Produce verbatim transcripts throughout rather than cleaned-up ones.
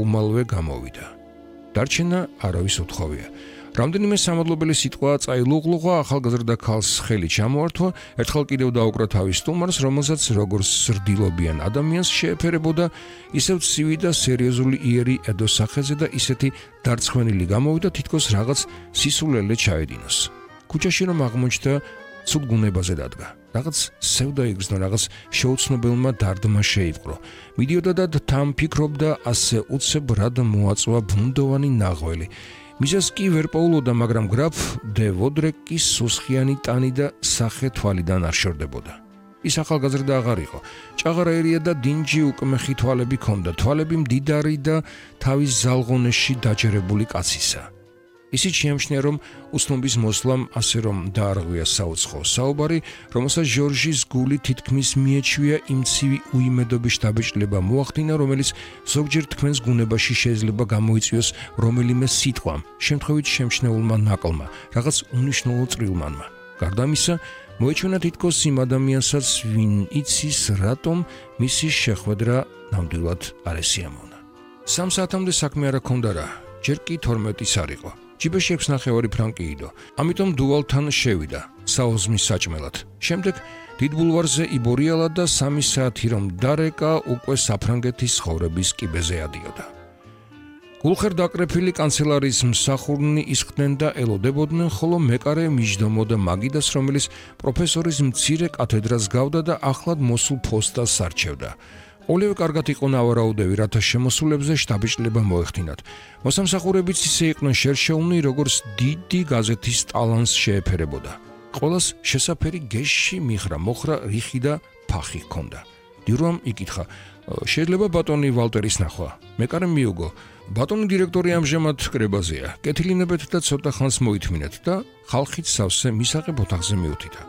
უმალვე გამოვიდა. დარჩენა არავის უთხოვია. რამდენიმე სამადლობელი სიტყვა წაილუღლუღა ახალგაზრდა ქალს ხელი ჩამოართვა, ერთხელ კიდევ დაუკრა თავის სტუმარს, რომელსაც როგორც სრდილობიან ადამიანს შეეფერებოდა, ისევ ცივი და სერიოზული იერი ედო სახეზე და ისეთი დარცხვენილი გამოვიდა, თითქოს რაღაც სისულელე ჩაედინოს. ქუჩაში რომ აღმოჩნდა, ცუდ გუნებაზე დადგა. რაღაც სევდა იგრძნო, რაღაც შეუცნობელმა დარდმა შეიპყრო. მიდიოდა და თან ფიქრობდა, ასე უცებ რად მოაწვა ბუნდოვანი ნაღველი. მიზეს კი ვერ პოულოდა, მაგრამ გრაფ დე ვოდრეკის სუსხიანი ტანი და სახე თვალიდან არ შორდებოდა. ის ახალგაზრდა აღარ იყო. ჭაღარაერია და დინჯი უკმეხი თვალები ჰქონდა, თვალები მდიდარი და თავის ზალღონეში დაჯერებული კაცისა. ისიც შეამჩნია, რომ უცნობის მოსლამ ასე რომ დაარღვია საუცხო საუბარი, რომელსაც ჟორჟის გული თითქმის მიეჩვია იმ ცივი უიმედობის დაბეჭდილება მოახდინა, რომელიც ზოგჯერ თქვენს გუნებაში შეიძლება გამოიწვიოს რომელიმე სიტყვამ, შემთხვევით შემჩნეულმა ნაკლმა, რაღაც უნიშნულო წრილმანმა. გარდა ამისა, მოეჩვენა თითქოს იმ ადამიანსაც, ვინ იცის, რატომ მისი შეხვედრა ნამდვილად არ ესიამოვნა. სამ საათამდე საქმე არ ჰქონდა რა, ჯერ კი თორმეტის არ იყო. ჯიბეში ექვს ნახევარი ფრანკი იდო. ამიტომ დუვალთან შევიდა, საოზმის საჭმელად. შემდეგ დიდ ბულვარზე იბორიალა და სამი საათი რომ დარეკა, უკვე საფრანგეთის ხოვრების კიბეზე ადიოდა. გულხერ დაკრეფილი კანცელარიის მსახურნი ისხდნენ და ელოდებოდნენ, ხოლო მეკარე მიჯდომოდა მაგიდას, რომელიც პროფესორის მცირე კათედრას გავდა და ახლად მოსულ ფოსტას არჩევდა. ოლივე კარგად იყო ნავარაუდევი, რათა შემოსულებზე შთაბეჭდილება მოეხდინათ. მოსამსახურებიც ისე იყვნენ შერშეულნი, როგორც დიდი გაზეთის ტალანს შეეფერებოდა. ყველას შესაფერი გეშში მიხრა, მოხრა, რიხი და ფახი ჰქონდა. დიურამ იკითხა, შეიძლება ბატონი ვალტერის ნახვა? მეკარემ მიუგო, ბატონი დირექტორი ამჟამად კრებაზეა. კეთილინებეთ და ცოტა ხანს მოითმინეთ და ხალხით სავსე მისაღებ ოთახზე მიუთიდა.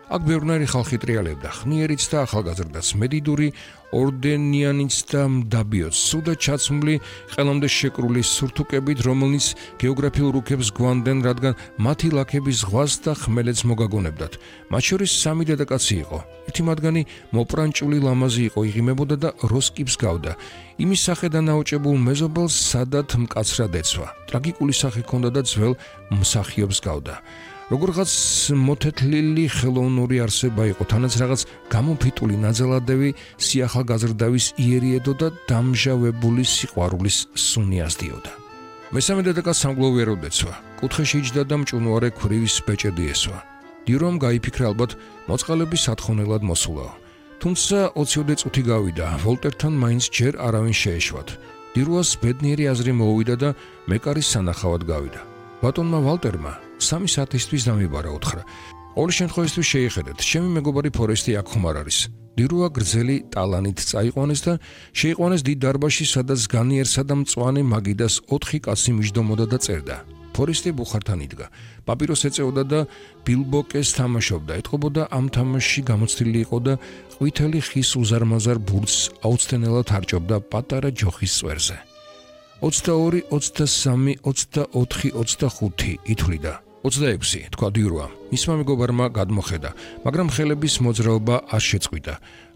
აქ ბევრნაირი ხალხი ტრიალებდა, ხნიერიც და ახალგაზრდაც, მედიდური, ორდენიანიც და მდაბიოც, სუდად ჩაცმული, ყელამდე შეკრული სურთუკებით, რომელნიც გეოგრაფიულ რუკებს გვანდნენ, რადგან მათი ლაქები ზღვას და ხმელეთს მოგაგონებდათ. მათ შორის სამი დედაკაცი იყო. ერთი მათგანი მოპრანჭული ლამაზი იყო, იღიმებოდა და როსკიპს გავდა. იმის სახედან აუჭებულ მეზობელს სადად მკაცრად ეცვა. ტრაგიკული სახე ჰქონდა და ძველ მსახიობს გავდა. როგორღაც მოთეთლილი ხელოვნური არსება იყო, თანაც რაღაც გამოფიტული ნაძალადევი სიახალგაზრდავის იერიედო და დამჟავებული სიყვარულის სუნი ასდიოდა. მესამე დედაკაც სამგლოვიეროდ ეცვა, კუთხეში იჯდა და მჭუნვარე ქვრივის ბეჭედი ესვა. დიურამ გაიფიქრა, ალბათ მოწყალების სათხოვნელად მოსულაო. თუმცა ოციოდე წუთი გავიდა, ვოლტერთან მაინც ჯერ არავინ შეეშვათ. დირუას ბედნიერი აზრი მოუვიდა და მეკარის სანახავად გავიდა. ბატონმა ვალტერმა სამი საათისთვის დამიბარა უთხრა. ორი შემთხვევისთვის შეიხედეთ, ჩემი მეგობარი ფორესტი აქ ხომ არ არის. დირუა გრძელი ტალანით წაიყვანეს და შეიყვანეს დიდ დარბაზში, სადაც განიერსა და მწვანე მაგიდას ოთხი კაცი მიჯდომოდა და წერდა. ფორესტი ბუხართან იდგა. პაპიროს ეწეოდა და ბილბოკეს თამაშობდა. ეთყობოდა ამ თამაშში გამოცდილი იყო და ყვითელი ხის უზარმაზარ ბურთს აუცდენელად არჭობდა პატარა ჯოხის წვერზე. ოცდაორი, ოცდასამი, ოცდაოთხი, ოცდახუთი ითვლიდა. ოცდაექვსი, თქვა დიურუამ. მისმა მეგობარმა გადმოხედა, მაგრამ ხელების მოძრაობა არ შეწყვიტა.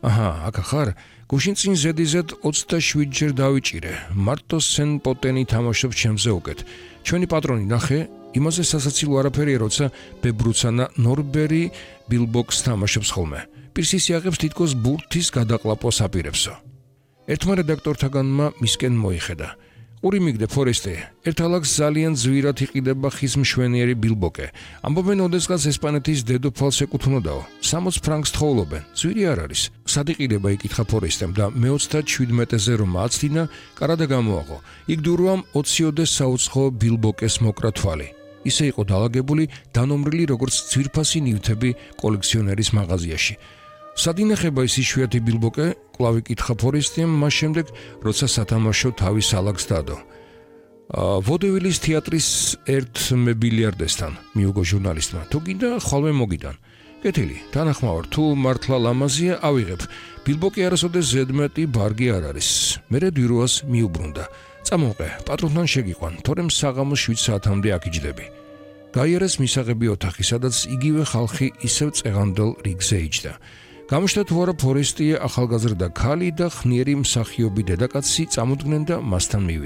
აჰა, აქ ხარ? გუშინ წინ ზედიზედ ოცდაშვიდ ჯერ დავიჭირე. მარტო სენ პოტენი თამაშობს ჩემზე უკეთ. ჩვენი პატრონი ნახე, იმაზე სასაცილო არაფერია, როცა ბებრუცანა ნორბერი ბილბოქს თამაშობს ხოლმე. პირსის იაღებს თითქოს ბურთის გადაყლაპოს აპირებსო. ერთმა რედაქტორთაგანმა მისკენ მოიხედა. ყური მიგდე ფორესტი, ერთალაკს ძალიან ზვირად იყიდება ხის მშვენიერი ბილბოკე. ამბობენ, ოდესღაც ესპანეთის დედოფალს ეკუთვნოდაო. სამოც ფრანკს თხოვლობენ, ზვირი არ არის. სად იყიდება, იკითხა ფორესტემ და მეოცდაშვიდმეტეზე რომ აცდინა, კარადა გამოაღო. იქ დურუამ ოციოდე საუცხო ბილბოკეს მოკრა თვალი. ისე იყო დაალაგებული, დანომრილი როგორც ძვირფასი ნივთები კოლექციონერის მაღაზიაში. სად ინახება ის იშვიათი ბილბოკე? კვლავ იკითხა ფორესტიმ, მას შემდეგ, როცა სათამაშო თავის ალაგს დადო. ვოდევილის თეატრის ერთ მებილიარდესთან, მიუგო ჟურნალისტმა. თუ გინდა, ხვალმე მოგიდან. კეთილი, თანახმავარ, თუ მართლა ლამაზია, ავიღებ. ბილბოკი არასოდეს ზედმეტი ბარგი არ არის. მერე დირუას მიუბრუნდა. წამოყე, პატრონთან შეგიყვან, თორემ საღამოს შვიდ საათამდე აქ იჯდები. გაიარეს მისაღები ოთახი, სადაც იგივე ხალხი ისევ წეღანდელ რიგზე იჯდა. გამიშთა თუ არა ფორესტია ახალგაზრდა ქალი და ხნიერი მსახიობი დედაკაცი წამოდგნენ და მასთან მივიდნენ.